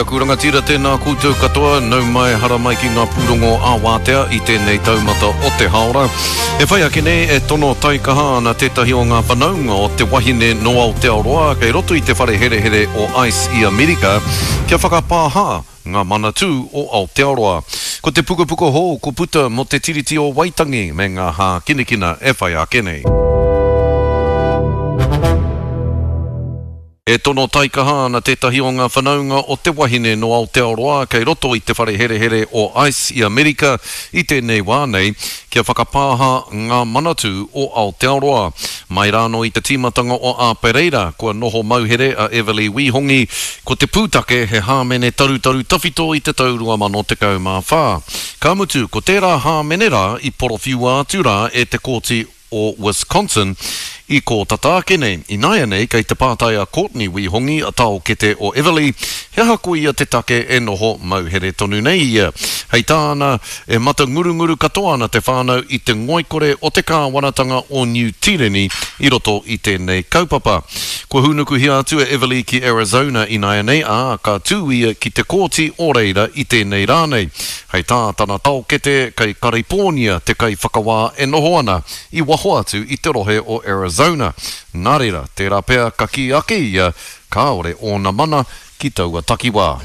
aku rangatira, tēnā koutou katoa, nau mai, hara mai ki ngā pūrongo ā-wātea i tēnei taumata o te haora. E whai ake nei, e tono taikaha ana tētahi o ngā whanaunga o te wahine nō Aotearoa kei roto i te whare herehere o ice i Amerika kia whakapāha ngā manatū o Aotearoa. Ko te pukapuka hou ko puta mō te Tiriti o Waitangi me ngā hākinakina e whai ake nei. E tono taikaha ana tētahi o ngā whanaunga o te wahine nō Aotearoa kei roto i te whare herehere o ice i Amerika i tēnei wā nei, kia whakapāha ngā manatū o Aotearoa. Mai rānō i te tīmatanga o Āpereira, kua noho mauhere a Everly Wīhongi, ko te pūtake he hāmene tarutaru tawhito i te tau 2014. Ka mutu, ko tērā hāmene rā i porowhiua atu rā e te Kōti o Wisconsin i kō tata ake nei. Ināianei kei te pātai a Courtney Wīhongi, taokete o Everly, he aha koia te take e noho mauhere tonu nei ia. Hei tāna, e matangurunguru katoa ana te whānau i te ngoikore o te kāwanatanga o Niu Tīreni i roto i tēnei kaupapa. Kua hūnukuhia atu a Everly ki Arizona ināianei, ā, ka tū ia ki te kōti o reira i tēnei rā nei. Hei tā tana taokete, kei Karipōnia te kaiwhakawā e noho ana, i waho atu i te rohe o Arizona. Nā reira, tērā pea ka kī ake ia kāore ōna mana ki taua takiwā.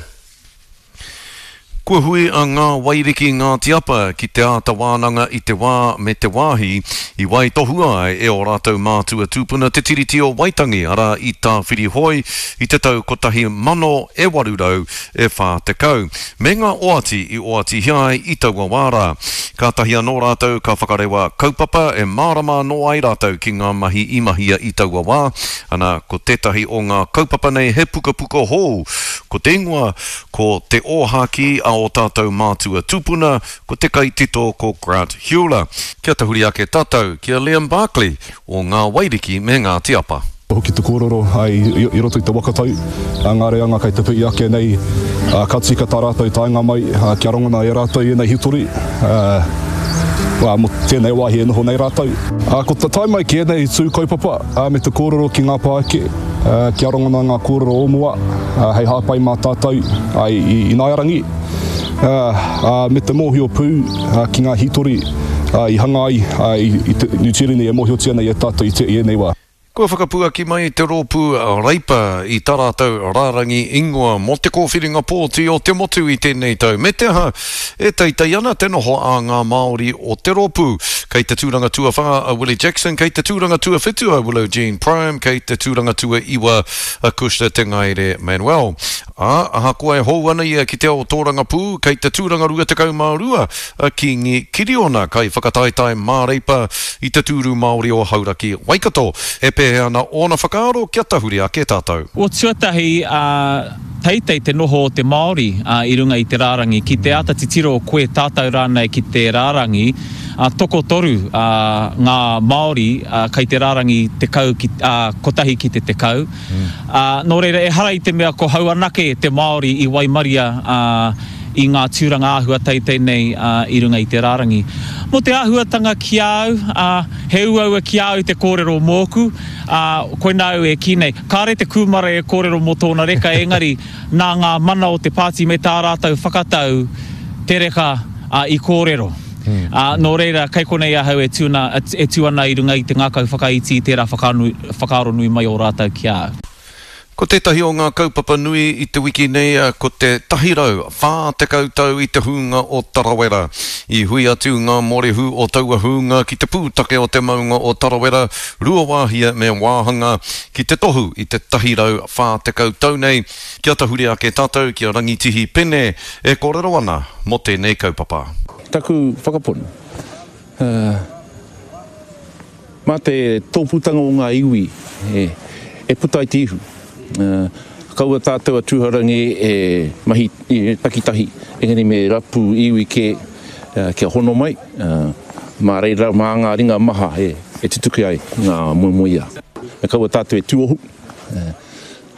Kua hui a Ngā Wairiki Ngāti Apa ki te āta wānanga i te wā me te wāhi i waitohua ai e ō rātou mātua tūpuna te Tiriti o Waitangi, arā i Tāwhirihoe i te tau 1800 e 40, me ngā oati i oatihia ai i taua wā rā. Kātahi anō rātou ka whakarewa kaupapa e mārama anō ai rātou ki ngā mahi i mahia i taua wā, ana, ko tētahi o ngā kaupapa nei he pukapuka hou, ko te ingoa ko Te Ōhākī a ō tātou mātua tūpuna, ko te kaitito ko Grant Heuler. Kia tahuri ake tātou ki a Liam Barclay o Ngā Wairiki me Ngāti Apa. Hoki te kōrero i roto i te waka tau, ngā reanga kei te pihi ake nei, ka tika tā rātou taenga mai kia rangona e rātou ēnei hitori mō tēnei wāhi e noho nei rātou. Ko te tae mai ki ēnei tū kaupapa me te kōrero ki ngā pāeke kia rangona ngā kōrero o mua hei hāpai mā tātou i ināiarangi. Me te mōhio pū ki ngā hītori i hanga ai i te Niu Tīreni e mōhiotia nei e tātou i ēnei wā. Kua whakapuaki mai te rōpū Reipa i tā rātou rārangi ingoa mō te kōwhiringa pōti o te motu i tēnei tau, me te aha, e teitei ana te noho a ngā Māori o te rōpū. Kei te tūranga tuawhā a Willie Jackson, kei te tūranga tuawhitu a Willow Jean Prime, kei te tūranga tuaiwa a Cushla Te Ngaere Manuel. Ā, ahakoa e hou ana ia ki te ao tōrangapū, kei te tūranga 22 a Kīngi Kiriona, kaiwhakataetae māreipa i te tūru Māori o Hauraki, Waikato. E pēhea ana ōna whakaaro kia tahuri ake tātou? O tuatahi, ā, teitei te noho o te Māori, ā, i runga i te rārangi. Ki te āta titiro koe, tātou rānei ki te rārangi, ā, tokotoru, ā, ngā Māori, ā, kei te rārangi tekau ki, ā, kotahi ki te tekau. Ā, nō reira, ehara i te mea ko hau anake te Māori i waimaria, ā, i ngā tūranga āhua teitei nei, ā, i runga i te rārangi. Mō te āhuatanga ki a au, ā, he uaua ki a au te kōrero mōku, ā, koinā au e kī nei, kāre te kūmara e kōrero mō tōna reka, engari, nā ngā mana o te pāti me tā rātou whakatau te reka, ā, i kōrero. Ā, nō reira, kei konei ahau e tū ana, e tū ana i runga i te ngākau whakaiti i tērā whakaaro nui mai o rātou ki a au. Ko tētahi o ngā kaupapa nui i te wiki nei ko te 140 tau i te hūnga o Tarawera. I hui atu ngā mōrehu o taua hūnga ki te pūtake o te maunga o Tarawera, Ruawāhia me Wāhanga ki te tohu i te 140 tau nei. Kia tahuri ake tātou ki a Rangitihi Pene e kōrero ana mō tēnei kaupapa. Taku whakapono, mā te tōpūtanga o ngā iwi e puta ai te ihu. Kaua tātou a Tūhourangi e mahi takitahi, engari me rapu iwi kē kia hono mai, mā reira, mā ngā ringa maha e tutuki ai ngā moemoeā. Me kaua tātou e tuohu.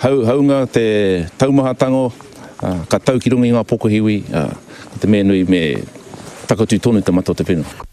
Hau, haunga te taumahatanga, ka tau ki runga i ngā pokohiwi, ko te mea nui me takatū tonu te mata o te whenua.